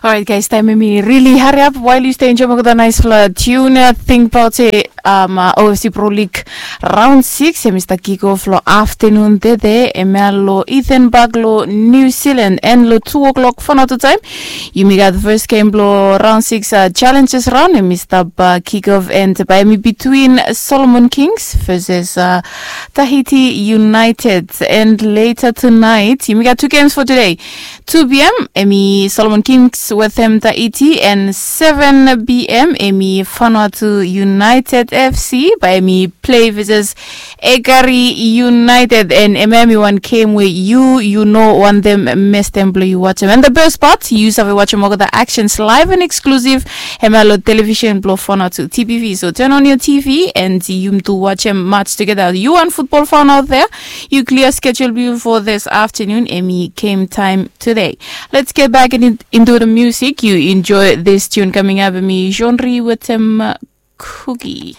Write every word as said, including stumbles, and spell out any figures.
Orait guys, taem em i rili hariap wael yu stap enjoem olgeta naispela tiun. Tingbaot se, ofc pro lig raon sikis em i stap kikof long aftanun tede, em ya long ethan bak long niu silan, and long tu o'klok fanatu taem yumi gat fes gem blong raon sikis, challenges raon em i stap kikof, and bae em i bitwin solomon kings veses tahiti united. And leta tunaet yumi gat tu gems fo tude. Tu pm em i solomon kings wetem tahiti, and seven pm em i fanatu united fc bae em i plei veses ekari united. And em ya em i wan gem we yu yu no wantem mestem blong yu wajem, and the best part yu save wajem olgeta actions live and exclusive. Em ya long television blong fanatu tpv, so turn on your tv and yumi tu wajem match togeta. Yu wan futbol fan out there, yu klia schedule blong yu for this afternoon, em i gem taem today. Let's get back into the music. You enjoy this tune coming up, em i genre wetem cookie.